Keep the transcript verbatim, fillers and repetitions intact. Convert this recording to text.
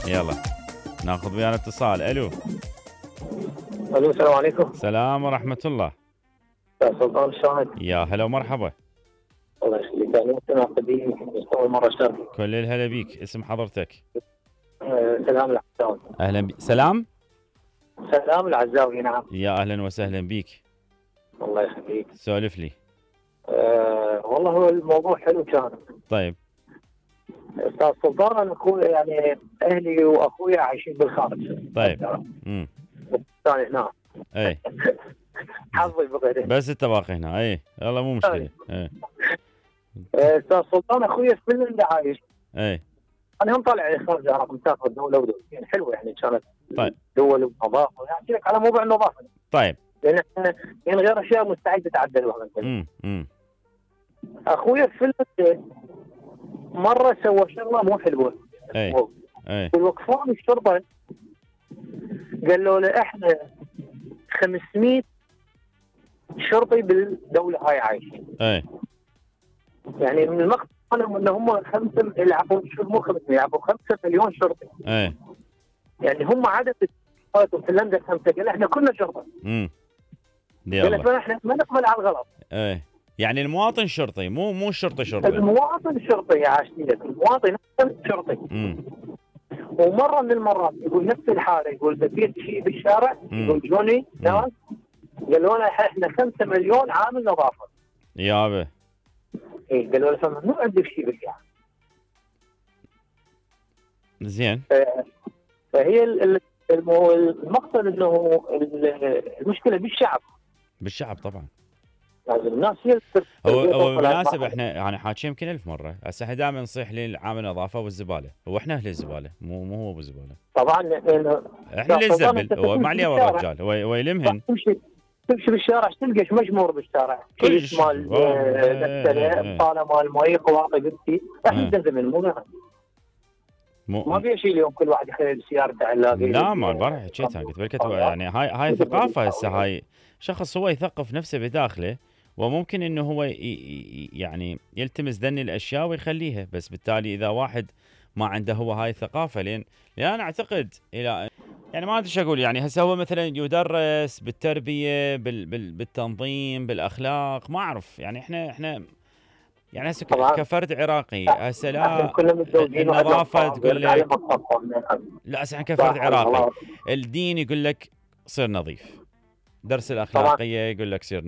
يلا ناخذ ويانا اتصال. الو الو السلام عليكم. سلام ورحمة الله. يا سلطان الشاهد. يا هلا ومرحبا. الله يخليك، انا مستمع قديم بس اول مره اشارك. كل الهلا بيك، اسم حضرتك؟ أه سلام العزاوي. اهلا بي... سلام سلام العزاوي. نعم. يا اهلا وسهلا بيك. الله يخليك. سولف لي. أه والله هو الموضوع حلو كان. طيب استاذ سلطان، انا اخوي يعني اهلي واخويا عايشين بالخارج. طيب. امم ثاني هنا. اي حظي بغيره. بس انت باقي هنا. اي يلا مو مشكله. اي استاذ سلطان، اخويا في فنلندا عايش. اي انا هم طالع خارج رقم مسافر دوله ودولتين حلوه يعني كانت. طيب دول ونظافه، يعني احكي لك على موضوع النظافه. طيب لان احنا يعني غير اشياء مستعد تتعدل وهذا. امم امم اخويا في فنلندا مره سوى شغله مو حلوه. اي اي والوقفان الشرطه قالوا له احنا خمسمئة شرطي بالدوله هاي عايشين. اي يعني من المقصد انهم ان هم خمسه يلعبون مو خمسمئة يلعبون خمسة مليون شرطي. اي يعني هم عدد في فنلندا خمسه، قال احنا كلنا شرطه. امم قال احنا ما نقبل على الغلط. اي يعني المواطن شرطي، مو مو الشرطه شرطي. المواطن شرطي يا عاشتي لك، المواطن شرطي. امم ومره من المرات يقول نفس الحاله، يقول بقيت شيء بالشارع، يقول جوني ناس قالوا لنا احنا خمسة مليون عامل نظافه. يابا اي قالوا له مو عندك شيء بالشارع. زين. فهي المقصد انه المشكله بالشعب. بالشعب طبعا. يعني الناس هي هو هو بالمناسبة احنا يعني حاكيين يمكن ألف مرة، هسه احنا دائما نصيح للعامل النظافة والزبالة، هو احنا أهل الزبالة مو مو هو ابو الزبالة. طبعا لانه احنا اللي نزبل، هو ما عليه الرجال، هو هو يلمهن. تمشي تمشي بالشارع تلقى مجمور بالشارع، كيس مال غسالة، طالة مال مي، قواطع قدسي، احنا نزبل مو غيرها. ما في شيء اليوم كل واحد يخلي سيارته علاقه. لا ما البارح حكيتها قلت بالكت يعني هاي هاي ثقافة هسه، هاي شخص هو يثقف نفسه بداخله وممكن انه هو يعني يلتمس ذني الاشياء ويخليها، بس بالتالي اذا واحد ما عنده هو هاي الثقافة، لين لان انا اعتقد الى يعني ما ادري ايش اقول، يعني هسه هو مثلا يدرس بالتربية بال بال بالتنظيم بالاخلاق، ما اعرف يعني احنا احنا يعني هسه كفرد عراقي هسه لا النظافه تقول لك لا، هسه احنا كفرد عراقي الدين يقول لك صير نظيف، درس الاخلاقيه يقول لك صير